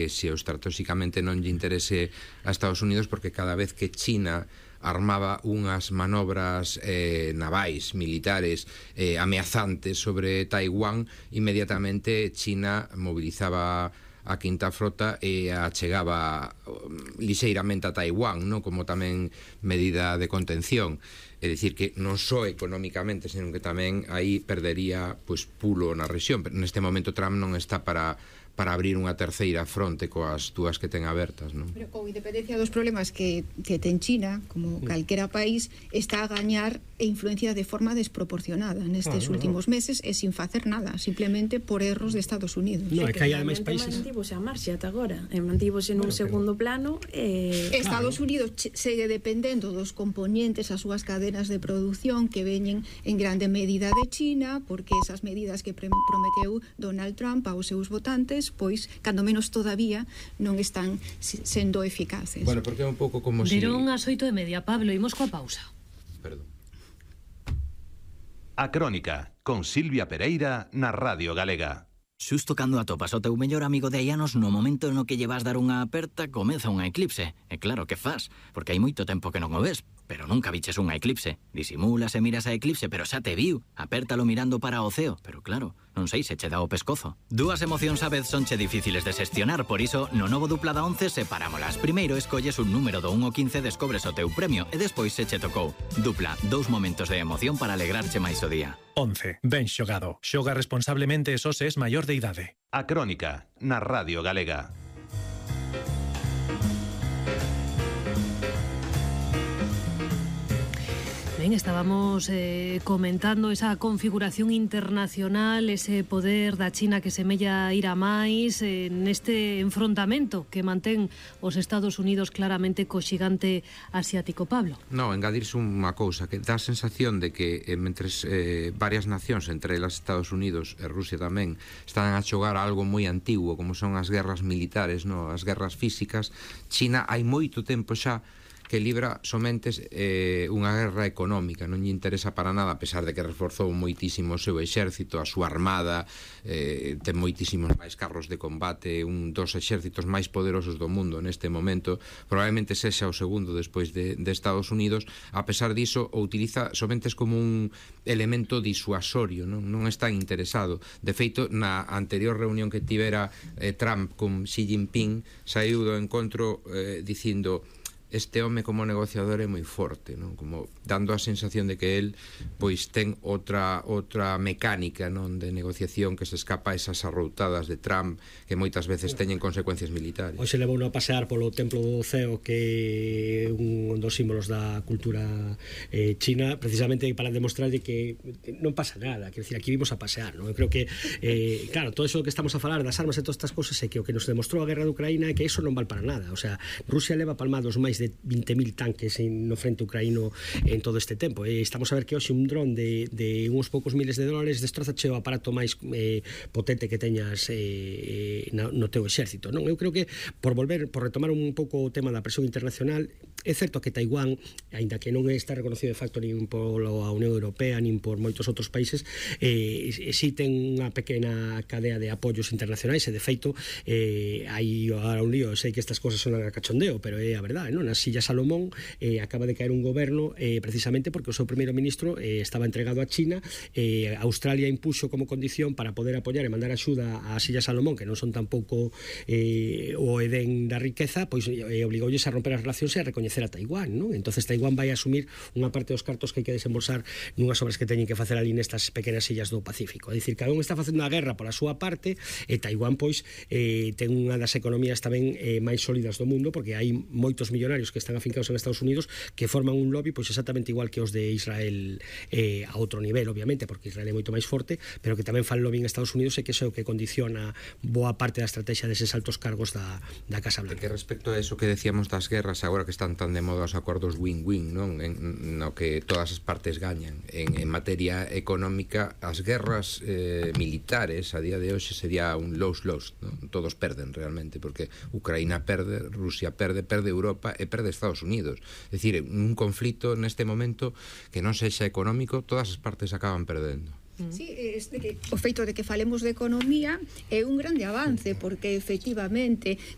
interese, ou estratégicamente non lle interese a Estados Unidos, porque cada vez que China armaba unhas manobras navais, militares ameazantes sobre Taiwán, inmediatamente China mobilizaba a quinta frota e a chegaba lixeiramente a Taiwán, non? Como tamén medida de contención. É dicir que non só económicamente, senón que tamén aí perdería pulo na rexión. Pero neste momento Trump non está para abrir unha terceira fronte coas dúas que ten abertas, non? Pero con independencia dos problemas que ten China, como calquera país, está a gañar e influencia de forma desproporcionada nestes últimos meses e sin facer nada, simplemente por erros de Estados Unidos. No, é que hai ademais países... Mantívose a marxa ata agora, mantívose nun segundo plano. Estados Unidos segue dependendo dos componentes, as súas cadenas de produción que veñen en grande medida de China, porque esas medidas que prometeu Donald Trump aos seus votantes, pois, cando menos todavía, non están sendo eficaces. Bueno, porque é un pouco como si... Deron as 8:30, Pablo, imos coa pausa. Perdón. A Crónica, con Silvia Pereira na Radio Galega. Xusto cando atopas o teu mellor amigo de hai anos, no momento no que lle vas dar unha aperta, comeza unha eclipse. E claro, que faz? Porque hai moito tempo que non o ves, pero nunca viches unha eclipse. Disimulas e miras a eclipse, pero xa te viu. Apértalo mirando para o ceo, pero claro, non sei se che dá o pescozo. Dúas emocións a vez sonche difíciles de xestionar, por iso, no novo dupla da 11 separámolas. Primeiro escolles un número do 1 ao 15, descobres o teu premio, e despois se che tocou. Dupla, 2 momentos de emoción para alegrarche máis o día. 11. Ben xogado. Xoga responsablemente e só se es maior de idade. A Crónica, na Radio Galega. Ben, estábamos comentando esa configuración internacional, ese poder da China que semella ir a máis neste enfrontamento que mantén os Estados Unidos claramente co xigante asiático, Pablo. No, engadirse unha cousa, que dá a sensación de que mentres varias nacións, entre elas Estados Unidos e Rusia tamén, están a xogar a algo moi antigo, como son as guerras militares, no, as guerras físicas, China hai moito tempo xa que libra somente unha guerra económica, non lle interesa para nada, a pesar de que reforzou moitísimo o seu exército, a súa armada, ten moitísimos máis carros de combate, un dos exércitos máis poderosos do mundo neste momento, probablemente sexa o segundo despois de Estados Unidos. A pesar diso, o utiliza somente como un elemento disuasorio, non está interesado. De feito, na anterior reunión que tivera Trump con Xi Jinping, saiu do encontro dicindo: este home como negociador é moi forte, non? Como dando a sensación de que el pois ten outra mecánica, non, de negociación que se escapa a esas arroutadas de Trump que moitas veces teñen consecuencias militares. Hoxe levou a pasear polo templo do ceo, que é un dos símbolos da cultura china, precisamente para demostrar que non pasa nada, quer decir, aquí vimos a pasear, non? Eu creo que claro, todo eso que estamos a falar das armas e todas estas cosas é que o que nos demostrou a guerra de Ucraína é que eso non vale para nada. O sea, Rusia leva palmados máis de 20.000 tanques no frente ucraíno en todo este tempo. Estamos a ver que hoxe un dron de uns poucos miles de dólares destroza o aparato máis potente que teñas no teu exército, non? Eu creo que por retomar un pouco o tema da presión internacional, é certo que Taiwán, aínda que non está reconocido de facto nin pola Unión Europea nin por moitos outros países, si ten unha pequena cadea de apoios internacionais, e de feito hai ahora un lío. Sei que estas cosas son a cachondeo, pero é a verdade, non? Nas Illas Salomón acaba de caer un goberno precisamente porque o seu primeiro ministro estaba entregado a China. Australia impuxo como condición para poder apoiar e mandar axuda ás Illas Salomón, que non son tampouco o edén da riqueza, pois obligoulles a romper as relacións e a recoñecer a Taiwán, non? Entonces Taiwán vai asumir unha parte dos cartos que hai que desembolsar nunhas obras que teñen que facer ali nestas pequenas illas do Pacífico. É dicir, cada un está facendo a guerra pola súa parte, e Taiwán pois ten unha das economías tamén máis sólidas do mundo, porque hai moitos millonarios que están afincados en Estados Unidos que forman un lobby pois exactamente igual que os de Israel, a outro nivel, obviamente, porque Israel é moito máis forte, pero que tamén fan lobby en Estados Unidos, e que iso é o que condiciona boa parte da estrategia deses altos cargos da Casa Blanca. Que respecto a eso que decíamos das guerras, agora que están tan de moda os acordos win-win, non? No que todas as partes gañan. En materia económica, as guerras militares a día de hoxe sería un lose-lose, non? Todos perden realmente, porque Ucraína perde, Rusia perde Europa e perde Estados Unidos. É dicir, un conflito neste momento que non sexa económico, todas as partes acaban perdendo. Sí, o feito de que falemos de economía é un grande avance, porque efectivamente